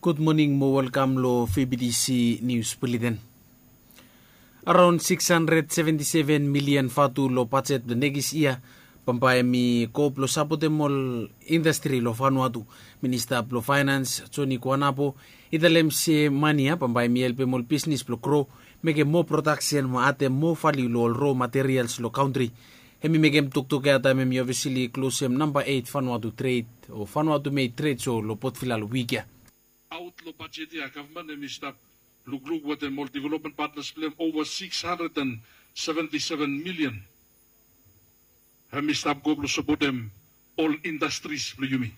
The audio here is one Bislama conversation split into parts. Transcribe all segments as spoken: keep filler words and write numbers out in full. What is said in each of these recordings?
Gud moning mo welkam long F B T C Nius Buleten. Araon sikis handred seventi seven milian vatu long bajet blong nekis yia bambae hemi go blong sapotem ol indastri long Vanuatu. Minista blong Faenans Joni Kuanapo i talem se mane ya bambae hemi helpem ol bisnis blong gro, mekem moa prodaksen mo adem moa valiu long ol ro materials long kantri. Hemi mekem toktok ya taem hemi obvisli klosem namba eit Vanuatu tred o Vanuatu made trade show long Port Vila long wik ya. Aot long bajet ya gavman hemi stap lukluk wetem ol development partners blong hem ova sikis handred and seventi seven milian. Hemi stap go blong sapotem ol indastris blong yumi.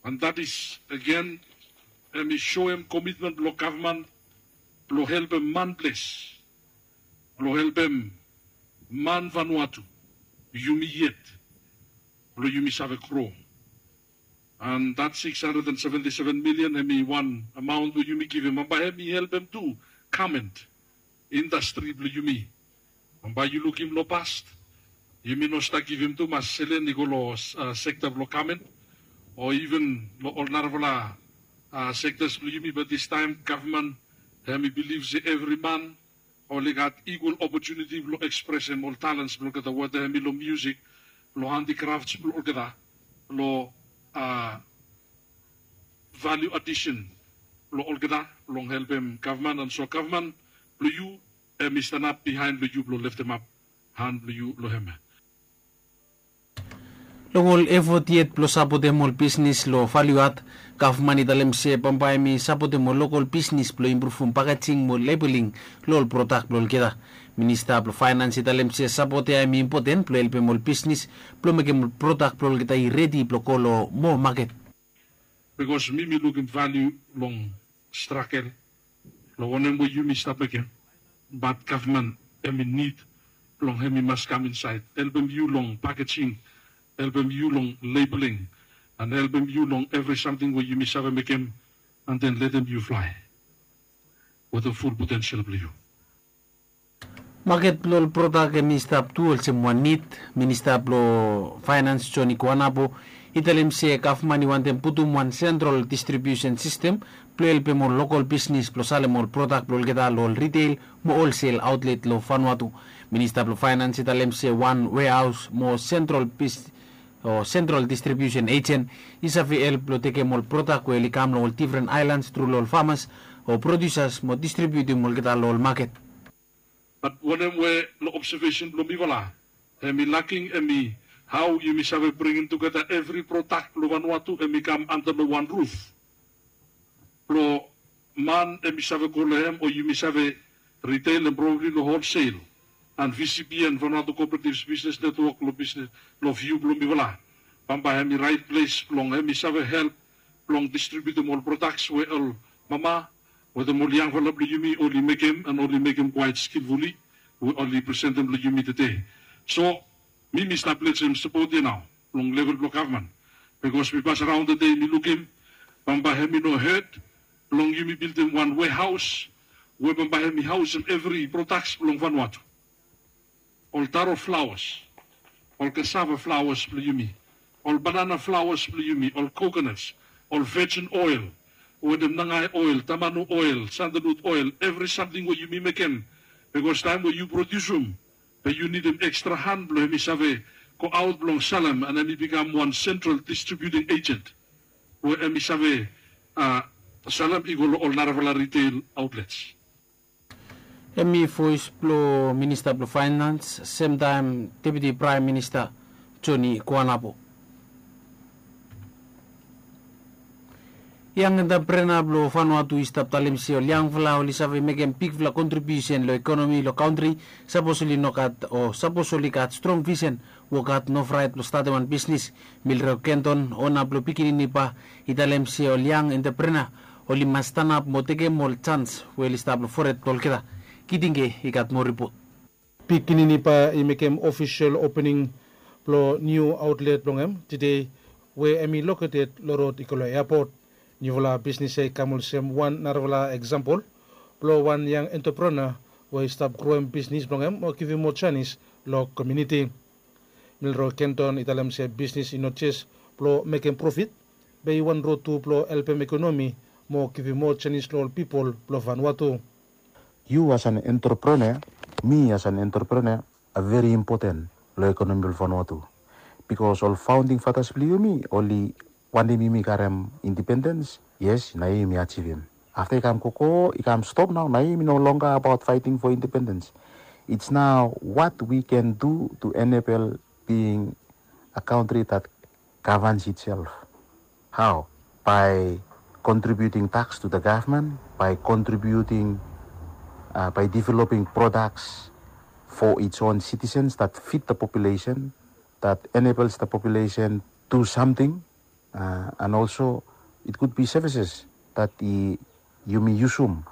And that is again hemi soem komitmen blong gavman blong helpem man ples, blong helpem man Vanuatu, yumi yet, blong yumi save gro. And that sikis handred and seventi seven milian hemi wan amaon we yumi givim bambae hemi helpem tu gament indastri blong yumi. Bambae yu lukim long past, yumi no stap givim tumas selen i go long sekta blong gament o iven long ol narafala sektas blong yumi, bat distaem gavman hemi bilif se evri man oli gat igual opotuniti blong ekspresem ol talens blong olgeta, weta hemi long miusik, long handikrafts blong olgeta, long valiu adisen blong olgeta blong helpem gavman. And so gavman blong yu hemi stanap bihaen blong yu blong leftemap han blong yu long hem. Long ol efot yet blong sapotem ol bisnis long valiu ad, gavman i talem se bambae hemi sapotem ol lokol bisnis blong impruvum pakejing mo lebeling long ol prodak blong olgeta. Minista blong Faenans i talem se sapot ya hemi impoten blong helpem ol bisnis blong mekem ol prodak blong olgeta i redi blong go long moa maket. Bikos mi mi lukim valiu long stragel long wanem we yumi stap mekem. Bat gavman hemi nid blong hemi mas kam insaed helpem yu long pakejing, helpem yu long lebeling, and helpem yu long evri samting we yumi save mekem, and then letem yu flae wetem ful potensel blong yu. Maket blong ol prodak hemi stap tu olsem wan nid. Minista blong Faenans Joni Kuanapo i talem se gavman i wantem putum wan sentrol distribiusen sistem blong helpem ol lokol bisnis blong salem ol prodak blong olgeta long ol riteil mo olsel aotlet long Vanuatu. Minista blong Faenans i talem se wan wehaos mo sentrol bis o sentrol distribiusen ejen i save help blong tekem ol prodak we oli kam long ol difren aelans tru long ol famas o prodiusas mo distribiutim olgeta long ol maket. Bat wanem we long obsevesen blong mifala hemi laking hemi hao yumi save bringim tugeta evri prodak blong Vanuatu hemi kam anta long wan ruf blong man hemi save go long hem o yumi save riteil and probabli long holsel. And V C B N, Vanuatu Cooperatives Business Network long bisnis long viu blong mifala bambae hemi raet ples blong hemi save help blong distribiutim ol prodaks we ol mama wetem ol yangfala blong yumi oli mekem and oli mekem kwaet skilfuli we oli presentem long yumi tede. So mi mi stap letem sapot ya nao long level blong gavman, bikos mi pasaraon tede mi lukim bambae hemi no hed blong yumi bildim wan wehaos we bambae hemi haosem evri prodaks blong Vanuatu. Ol taro flawas, ol kasava flawas blong yumi, ol banana flawas blong yumi, ol kokonas, ol vejin oel wetem nangae oel, tamanu oel, sandalut oel, evri samting we yumi mekem. Bikos taem we yu prodiusum be yu nidim ekstra han blong hemi save goaot blong salem and hemi bikam wan sentral distribiuting ejen we hemi save salem i go long ol narafala riteil aotlets. Hemi voes blong Minista blong Faenans semtaem Deputi Praem Minista Joni Kuanapo. Yang entreprena blong Vanuatu i stap talem se ol yangfala oli save mekem bigfala kontribiusen long ekonomi long kantri. Sapos oli no gat o sapos oli gat strong visen, wok had, no fraet blong statem wan bisnis. Milroy Kenton, ona blong pikinini ba, i talem se ol yang entreprena oli mas stanap mo tekem ol jans we oli stap long fored blong olgeta. Kitinge i gat moa ripot. Pikinini ba i mekem ofisel opening blong niu aotlet blong hem tede, we hemi loketed long rod i go long eapot. Niufala bisnis ya i kam olsem wan narafala eksampol blong wan yang entreprena we i stap groem bisnis blong hem o givim moa janis long komuniti. Milroy Kenton i talem se bisnis i no jes blong mekem profit, be i wan rod tu blong helpem ekonomi mo givim moa janis long ol pipol blong Vanuatu. Yu as an entrepreneur, mi as an entrepreneur, a very important long ekonomi blong Vanuatu. Bikos ol founding fathers blong yumi oli wantem yumi karem independens. Yes, nao yumi ajivim. Afta i kam gogo, i kam stop nao, nao yumi no longer about fighting for independence. It's now what we can do to enable being a country that governs itself. How? By contributing tax to the government, by contributing, uh, by developing products for its own citizens that fit the population, that enables the population do something, uh, and also it could be services that i yumi yusum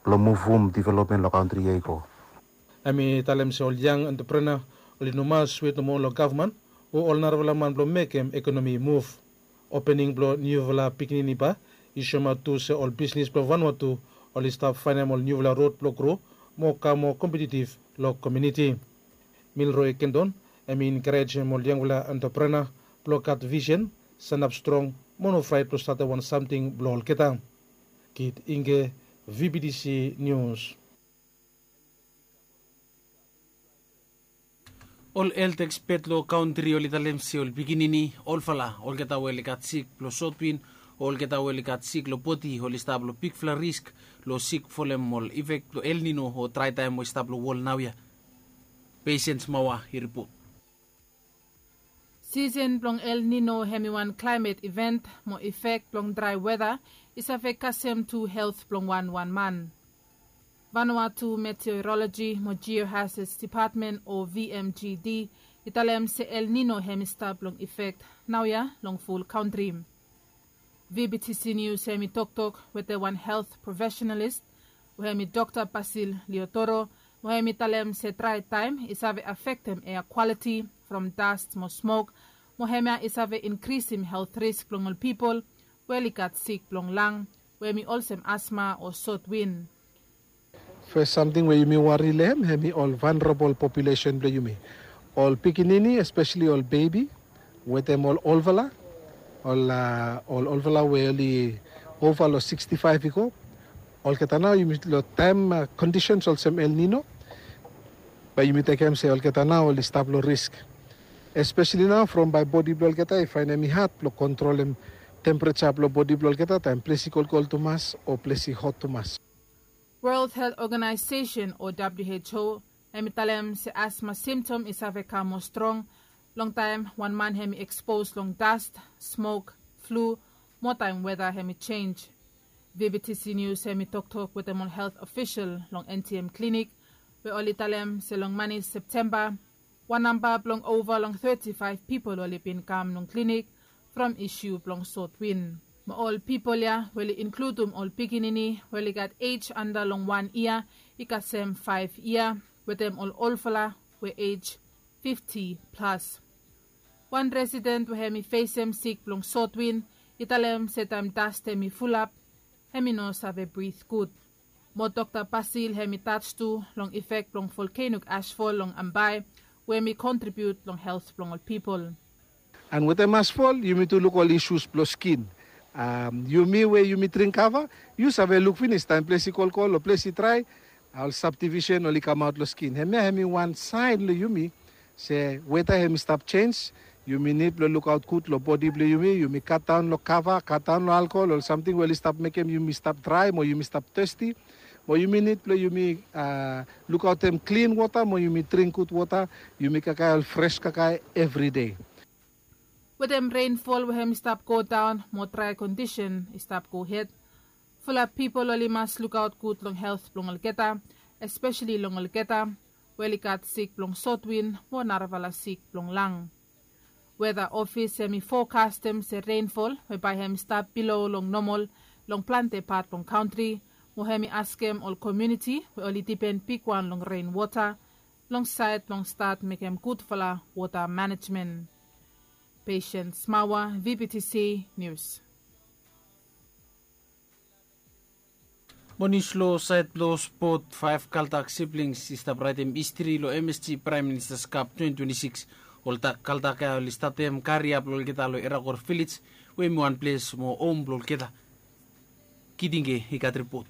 blong muvum development long kantri ya i go. Hem i talem se ol yang entrepreneur oli no mas wet nomo long gavman o ol narafala man blong mekem ekonomi i muv. Opening blong niufala pikinini ba i soemaot tu se ol bisnis blong Vanuatu oli stap faenem ol niufala rod blong gro mo kam moa kompetitiv long komuniti. Milroy Kendon hem i enkarejem ol yangfala entrepreneur blong gat visen, sanap strong mo no fraet blong statem wan samting blong olgeta. Kit Inge, V B T C News. Ol helt ekspet long kantri oli talem se ol pikinini, olfala, olgeta we oli gat sik blong sotwin o olgeta we oli gat sik long bodi oli stap long bigfala risk long sik folem ol ifek blong El Nino o draetaem we i stap long wol naoia. Pesen Smaoa i ripot. Sisen blong El Nino hem i wan klaemet iven mo ifek blong drae weta i save kasem tu helt blong wanwan man. Vanuatu Meteoroloji mo Geohazards Dipatmen o V M G D i talem se El Nino hem i stap long ifek naoia long ful kantri. V B T C News hem i toktok wetem wan helt profesenalis we hem i Dokta Basil Liotoro, we hem i talem se draetaem i save afektem ea kwaliti from dast mo smok, mo hemia i save inkrisim helt risk blong ol pipol we oli gat sik blong lang, we hem i olsem asma o sotwin. Fes samting we yumi wari long hem hem i ol vanarabol populesen blong yumi, ol pikinini, espeseli ol bebi, wetem ol olfala, ol a ol olfala we oli ova long sikstifaef i go. Olgeta nao yumi long taem a kondisens olsem El Nino, bae yumi tekem se olgeta nao oli stap long risk. Espeseli nao from bae bodi blong olgeta i faenem i had blong kontrolem tempereja blong bodi blong olgeta taem ples i kolkol tumas o ples i hot tumas. World Health Organization o W H O hem i talem se asma simtom i save kam moa strong longtaem wan man hem i ekspos long dast, smok, flu, mo taem weta hem i jenj. V B T C News hem i toktok wetem ol helt ofisol long N T M klinik, we oli talem se long mani Septemba wan namba blong ova long teti faef pipol oli bin kam long klinik from isu blong sotwin. Mo ol pipol ya we oli inkludum ol pikinini we oli gat ej anda long wan yia i kasem faef yia, wetem ol olfala we ej fifti plas. Wan residen we hem i fesem sik blong sotwin i talem se taem dast hem i fulap, hem i no save brit gud. Mo Dokta Basil hem i tach tu long ifek blong volkenok asfol long Ambae, we hem i kontribiut long helt blong ol pipol. An wetem asfol yumi tu luk ol isus blong skin. Yumi we yumi dring kava, yu save luk finis taem ples i kolkol o ples i drae, ol sabdivisen oli kamaot long skin. Hemia hem i wan saen long yumi se weta hem i stap jenj. Yumi nid blong lukaot gud long bodi blong yumi. Yumi katdaon long kava, katdaon long alkohol, ol samting we oli stap mekem yumi stap drae mo yumi stap testi. Mo yumi nid blong yumi a lukaotem klin wota mo yumi dring gud wota. Yumi kakae ol fres kakae evri dei. Wetem renfol we hem i stap godaon mo drae kondisen i stap gohed, fulap pipol oli mas lukaot gud long helt blong olgeta, espeseli long olgeta we oli gat sik blong sotwin mo narafala sik blong lang. Weta ofis hem i fokastem se renfol we bae hem i stap bilo long nomol long plante pat blong kantri, mo hem i askem ol komuniti we oli dipen bigwan long renwota long saed blong stat mekem gudfala wota manejmen. Pesen Smaoa, V B T C Nius. Mo nius long saed blong spot, faef Kaldak siblings i stap raetem histri long M S G Praem Ministas Kap twenti twenti sikis. Ol kaltak ya oli statem kariap long olgeta long Erakor Vilej, we hem i wan ples mo hom blong olgeta. Kitinge i gat ripot.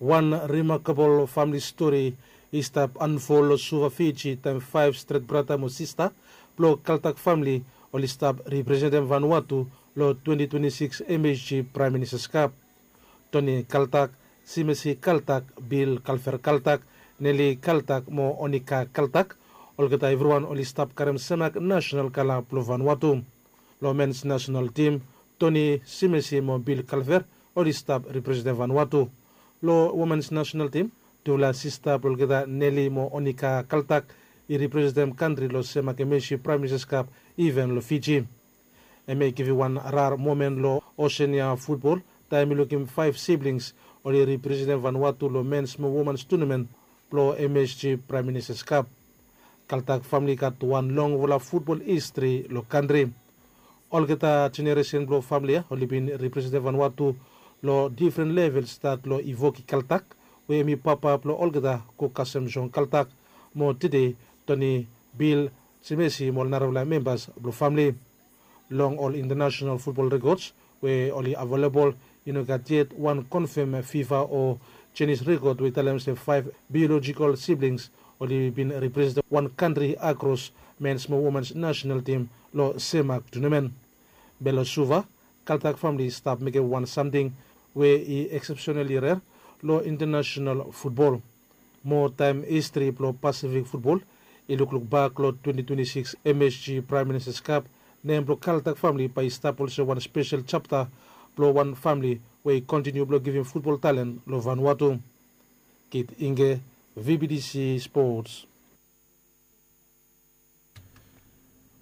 Wan rimakabol famili stori i stap anfol long Suva, Fiji, taem faef stret brata mo sista blong Kaltak famili oli stap representem Vanuatu long twenti twenti sikis M H G Praem Ministas Kap. Toni Kaltak, Simesi Kaltak, Bil Kalfer Kaltak, Neli Kaltak mo Onika Kaltak, olgeta evriwan oli stap karem semak nasenal kala blong Vanuatu. Long mens nasenal tim, Toni Simesi mo Bil Kalfer oli stap representem Vanuatu. Long womens nasenal tim, tufala sista blong olgeta, Neli mo Onika Kaltak, i representem kantri long semak M H G Praem Ministas Kap iven long Fiji. Hem i givim wan rar momen long Oseania futbol taem i lukim faef siblings oli representem Vanuatu long mens mo womens tunamen blong M H G Praem Ministas Kap. Kaltak famili i gat wan longfala futbol histri long kantri. Olgeta jeneresen blong famili ya oli bin representem Vanuatu long difren level, stat long Ivoki Kaltak, we hem i papa blong olgeta, go kasem Jon Kaltak, mo tede Toni, Bil, Simesi mo ol narafala membas blong famili. Long ol intanasenal futbol rekods we oli avelebol, i no gat yet wan konfam FIFA o Chinese rekod we i talem se faef biolojikol siblings oli bin representem wan kantri akros mens mo womens nasenal tim long semak tunamen. Be long Suva, Kaltak famili i stap mekem wan samting we i eksepsenali rer long intanasenal futbol. Mo taem histri blong Pasifik futbol i lukluk bak long twenti twenti sikis M H G Praem Ministas Kap, nem blong Kaltak famili bae i stap olsem wan spesel japta blong wan famili we i kontiniu blong givim futbol talen long Vanuatu. Kitinge, V B T C Sports.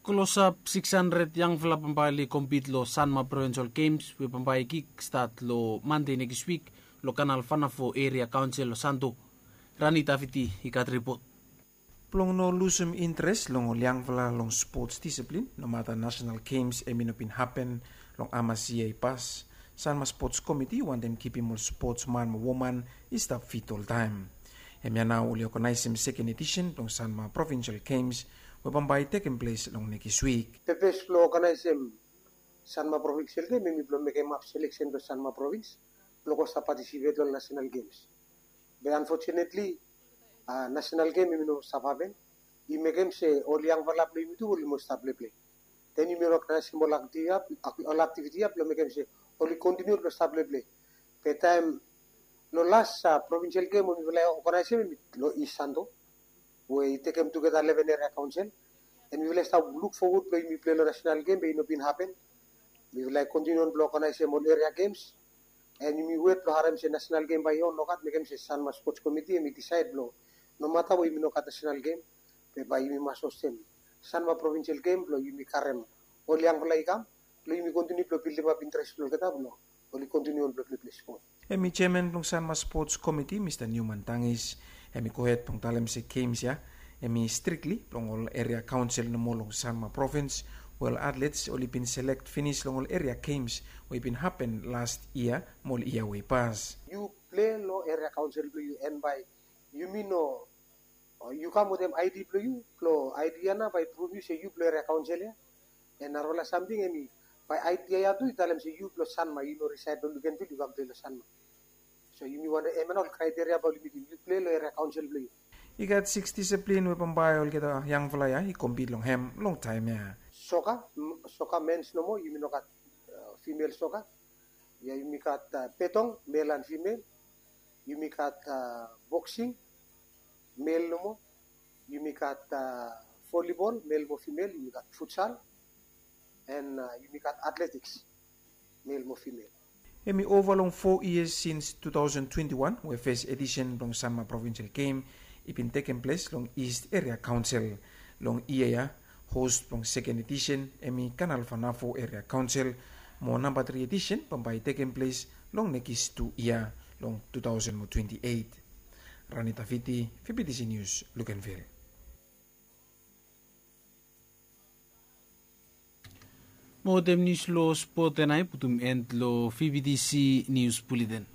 Klosap sikis handred yangfala bambae oli kompit long Sanma Provinsel Gems we bambae i kikstat long Mande nekis wik long Kanal Vanafo Eria Kaonsel long Santo. Rani Taviti i gat ripot. Blong no lusum intres long ol yangfala long spots diseplin, nomata nasenal gems hem i no bin hapen long hamas yia i pas, Sanma Spots Komiti wantem kipim ol spotsman mo woman i stap fit oltaem. Hemia nao oli oganaesem seken edisen blong Sanma Provinsel Gems we bambae i tekem ples long nekis wik. Pepes blong oganaesem Sanma Provinsel Gem hem i blong mekem haf seleksen blong Sanma Provins blong go stap patisipet long nasenal gems. Be anfotunetli, nasenal gem hem i no stap hapen. I mekem se ol yangfala blong yumi tu oli mas stap pleple. Den yumi no knasim ol aktiviti ya blong mekem se oli kontiniu blong stap pleple. Be taem long las provinsel gem we mifala i oganaesem hem i long East Santo, we i tekem tugeta leven eria kaonsel. An mifala i stap luk fowod blong yumi plei long nasenal gem be i no bin hapen. Mifala i kontiniu on blong oganaesem ol eria gems. An yumi wet blong harem se nasenal gem bae i on, nogat mekem se Sanma Spots Komiti hem i disaed blong nomata we yumi no gat nasenal gem, be bae yumi mas hostem Sanma provinsel gem blong yumi karem ol yangfala i kam blong yumi kontiniu blong bildimap intres blong olgeta blong oli kontiniu on blong pleple spot. Hem i jeaman blong Sanma Spots Komiti, Mista Newman Tangis, hem i gohed blong talem se gems ya hem i strikli blong ol eria kaonsel nomo long Sanma provins, we ol atlets oli bin selek finis long ol eria gems we i bin hapen las yia mo ol yia we i pas. Yu plei long eria kaonsel blong yu, an bae yumi no, yu kam wetem ID blong yu, blong ID ya nao bae i pruvum yu se yu blong eria kaonsel ya. An narafala samting hem i, bae ID ya tu i talem se yu blong Sanma, yu no risaed long Luganville, yu kam plei long Sanma. So yumi wantem, hemia nao ol kraeteria bae oli mitim, yu plei long eria kaonsel blong yu. I gat sikis diseplin we bambae olgeta yangfala ya i kompit long hem long taem ya. Soka, soka mens nomo, yumi no gat fimel soka. Ya yumi gat betong, mel an fimel. Yumi gat boksing, mel nomo. Yumi gat volibol, mel mo fimel. Yumi gat futsal, an yumi gat atletiks, mel mo fimel. Hem i ova long fo yias sins tu taosen twenti wan we fes edisen blong Sanma provinsel gem i bin tekem ples long Ist Eria Kaonsel. Long yia ya, hos blong seken edisen hem i Kanal Vanafo Eria Kaonsel, mo namba tri edisen bambae i tekem ples long nekis tu yia, long tu taosen mo twenti eit. Rani Taviti, VBTC Nius, Luganville. Mo wetem nius long spot ya nao i putum en long VBTC Nius Buleten.